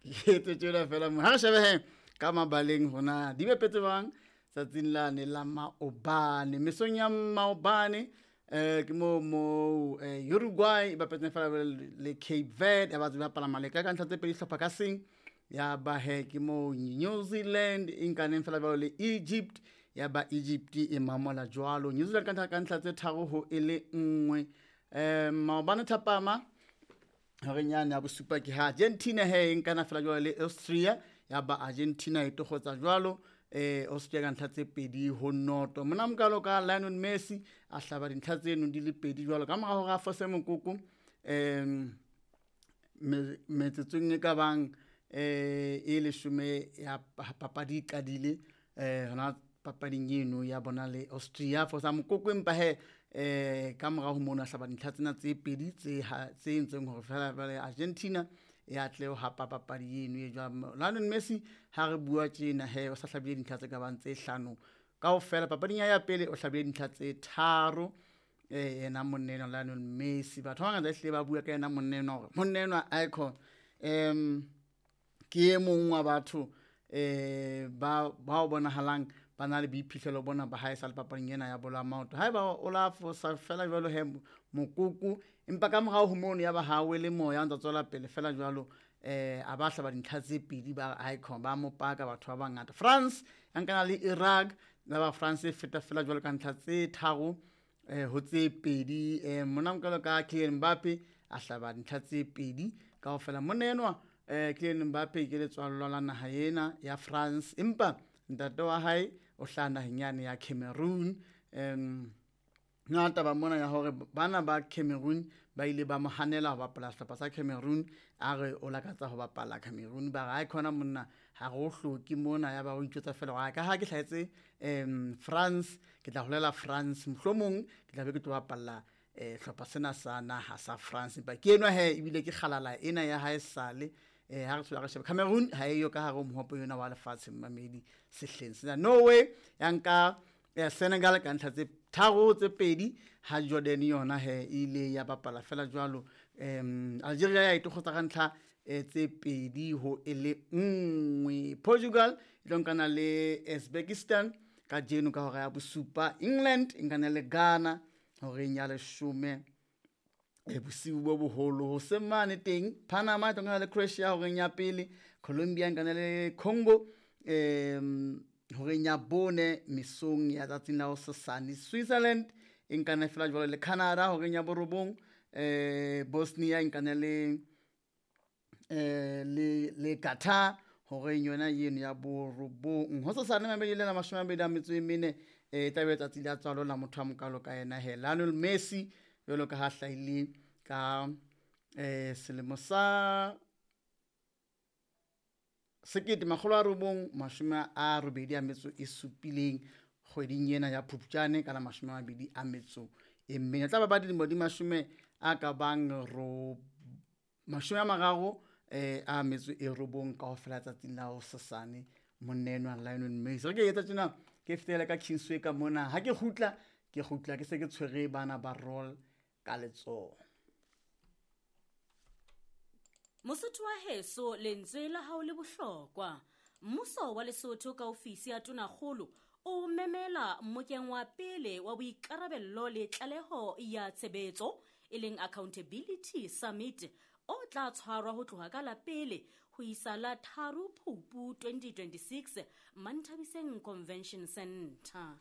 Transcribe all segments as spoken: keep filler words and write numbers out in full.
Ke etse tjena fela mo. Ha re shebe he ka mabaleng hona di bapetse jwang tsatsing lane la maobane. Mesong ya maobane eh ke mo mo eh, Uruguay e bapetseng fela le Cape Verde, ya ba tse bapala maleka ka ntlha tse pedi hlopha ka seng. Ya ba he ke mo New Zealand e nkaneng fela jwalo le Egypt, ya ba Egypt e mamola jwalo New Zealand ka ntlha ka ntlha tse tharo ho e le nngwe. Eh maobane thapama horeng yane ya bosupa ke ha Argentina he e nkana fela jwalo le Austria, ya ba Argentina e tokgotsa jwalo eh Austria ka ntlha tse pedi ho noto. Mona mokalo ka Lionel Messi a hlaba dintlha tseno di le pedi jwalo ka mora hore a fose mokoko em metsotsong e ka bang eh e leshome ya papadi e qadile eh hona papading eno ya bona le Austria fosa mokoko, empa he eh ka mora ho mono a hlaba dintlha tsena tse pedi tse tse entseng hore fela jwale Argentina ya tle ho hapa papadi eno e jwang. Lionel Messi ha re bua tjena he o sa hlabile dintlha tse ka bang tse hlano kaofela papading ya ya pele, o hlabile dintlha tse tharo eh yena monna enwa Lionel Messi. Batho ba bangata ehlile ba bua ka yena monna enwa hore monna enwa icon em ke e mong wa batho eh ba bao bonahalang ba na le boiphihlelo bona ba hae sa le papading ena ya bolo ya maoto. Haeba o la fosa fela jwalo he mokoko, empa ka morao ho mono ya ba ha wele moya o ntsa tswela pele fela jwalo eh a ba hlaba dintlha tse pedi ba icon ba mo paka batho ba bangata. France ya nkana le Iraq, ya ba France e feta fela jwalo ka ntlha tse tharo eh ho tse pedi. Eh mona mokalo ka Kylian Mbappe a hlaba dintlha tse pedi kaofela. Monna enwa eh Kylian Mbappe ke letswallo la naha ena ya France, empa ntate wa hae o hlaha naheng yane ya Cameroon. Em na taba mona ya hore bana ba Cameroon ba ile ba mo hanela ho bapala sehlopha sa Cameroon, a re o lakatsa ho bapala Cameroon, ba re ha khona monna ha re o hloke mona, ya ba o itjwetsa fela hore ka ha ke hlahetse em France ke tla holela France, mohlomong ke tla be ke tlo bapalla eh hlopha sena sa naha sa France. Empa ke enwa he ebile ke kgalala ena ya hae sale eh ha re tswela re sheba Cameroon ha eyo ka hare ho mohope yona wa lefatshe mmamedi sehleng sena. Norway ya nka ya Senegal ka ntlha tse tharo tse pedi, ha Jordan yona he ile ya bapala fela jwalo. Em Algeria ya itokgotsa ka ntlha tse pedi ho e le nngwe. Portugal e tlo nkana le Uzbekistan ka jeno ka hora ya bosupa. England e nkana le Ghana horeng ya leshome e bosiu bo boholo. Hoseng mane teng Panama e tlo nkana le Croatia horeng ya pele, Colombia e nkana le Congo em horeng ya bone mesong ya tsatsing la hosasane. Switzerland e nkana fela jwalo le Canada horeng ya borobong, eh Bosnia e nkana le eh le le Qatar horeng yona eno ya borobong. Hosasane mabedi le mashome a mabedi a metso e mene eh tla be tsatsi la tswalo la motho a mokalo ka yena he Lionel Messi jwalo ka ha hlahile ka eh selemo sa sekete makgolo a robong mashome a robedi a metso e supileng kgweding ena ya Phupjane ka la mashome a mabedi a metso e mene. Tla ba ba dilemo di mashome a ka bang ro mashome a mararo eh a metso e robong kaofela tsatsing la hosasane monna enwa Lionel Messi. Re ke etsa tjena ke fetela ka Kingsway ka mona, ha ke kgutla ke kgutla ke se ke tshwere bana ba roll ka letsoho. Mosotho wa heso, lentswe la hao le bohlokwa. Mmuso wa Lesotho ka ofisi ya Tonakgolo o memela mmokeng wa pele wa boikarabello le tlaleho ya tshebetso e leng Accountability Summit o tla tshwarwa ho tloha ka la pele ho isa la tharo Phupu twenty twenty-six Manthabiseng Convention Center.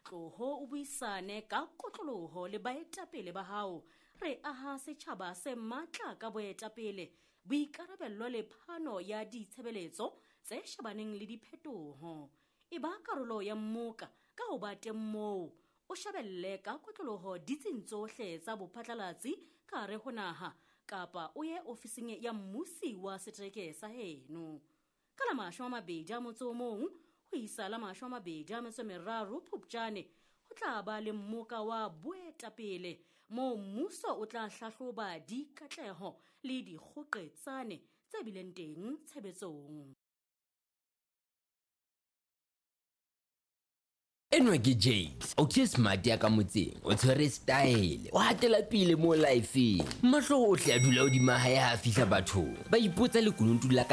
Tloho o buisane ka kotloloho le baetapele ba hao. Re aha setjhaba se matla ka boetapele, boikarabello le phano ya ditshebeletso tse shebaneng le diphetoho. E ba karolo ya mmoka ka ho ba teng moo, o shebelle ka kotloloho ditsing tsohle tsa bophatlalatsi ka hare ho naha kapa o ye ofising ya mmusi wa setereke sa heno. Ka la mashome a mabedi a motso o mong ho isa la mashome a mabedi a metso e meraro Phupjane ho tla ba le mmoka wa boetapele moo mmuso o tla hlahloba dikatleho le dikgoqetsane tse bileng teng tshebetsong. Enwa ke Jakes, o ke smart ya ka motseng, o tshwere style, o hatela pele mo lifeng. Mahlo ohle a dula hodima hae ha a fihla bathong. Ba ipotsa lekunutu la ka